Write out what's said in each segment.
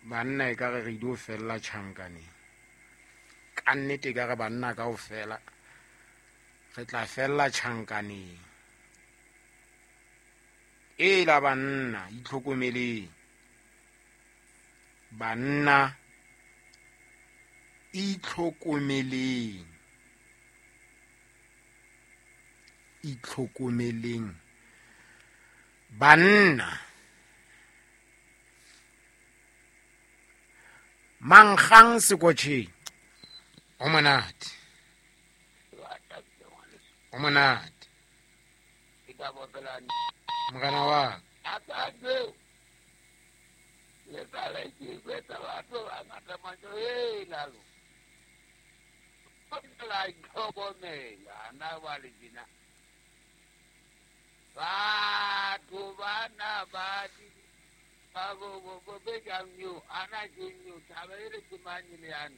Banna e ka re re ile ho fella tjhankaneng. Ka nnete e ka re banna kaofela re tla fella tjhankaneng. Ela banna itlhokomeleng. Banna itlhokomeleng. Itlhokomeleng. Banna mankgang sekotjheng o monate. O monate. Morena wa ka. Batho bana ba ba bo bo be jang yo ana ke yo taba e re ke mang le yana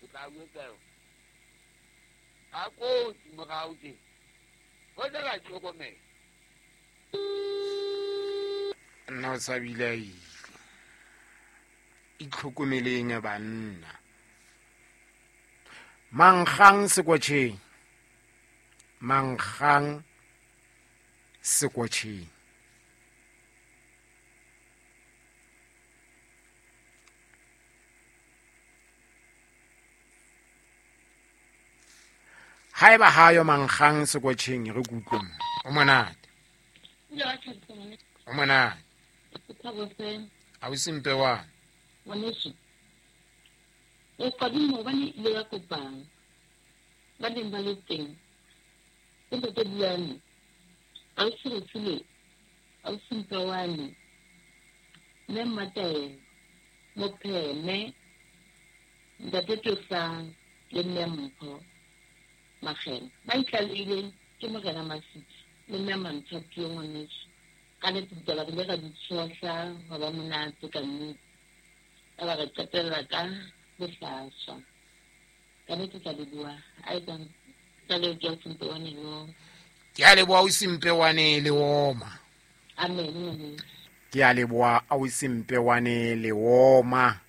o tla bua yo a ko morao ke go tla tlhokomela nna o sa bile a ile. Itlhokomeleng banna. Mankgang sekotjheng. Mankgang sekotjheng. Haeba hayo mankgang sekotjheng re kutlweng. O monate. O monate. Ausi Mpewana. Ngwaneso. O qadimo hobane ile ya kopana. Ba neng ba le teng. Ke ntate Buane. Ausi Refilwe. Ausi Mpewane. Mme Mmataelo. Mopheme. Ntate Tosang le mme Mpho. Makgena. Ba itlalehileng ke Morena Masitsi le mme Mantshapio ngwaneso. Ka nnete ditaba re ile ra di tshohla hwa ba monate ka nnete. Ka ba re qetella ka bohlaswa. Ka nnete ke a leboha. A etsang ka leo ke ausi Mpewane le. Ke a leboha ausi Mpewane le oma. Amen ngwaneso. Ke a leboha ausi Mpewane le oma.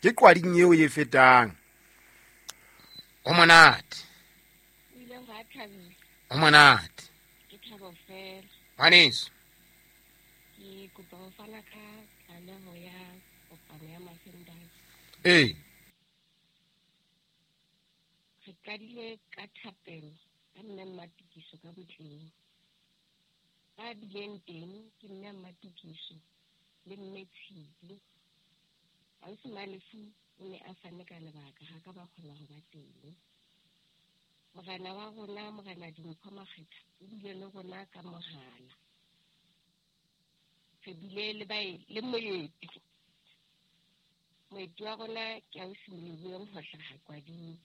Ke qwading eo e fetang. O monate. O ile wa thabisa. O monate. Ke thabo fela. Ngwaneso. Ke kopa ho fana ka tlaleho ya kopano ya Masendai. Ee. Re qadile ka thapelo ka mme Mmatokiso ka botleng. Ba bileng teng ke mme Mmatokiso le mme Tshipi. Ausi Malefu o ne a fane ka lebaka ha ka ba kgona ho ba teng. Morena wa rona, Morena Dimpho Makgetha, o bile le rona ka mohala. Re bile le le moeti. Moeti wa rona ke ausi Moleboheng ho hlaha Kwading.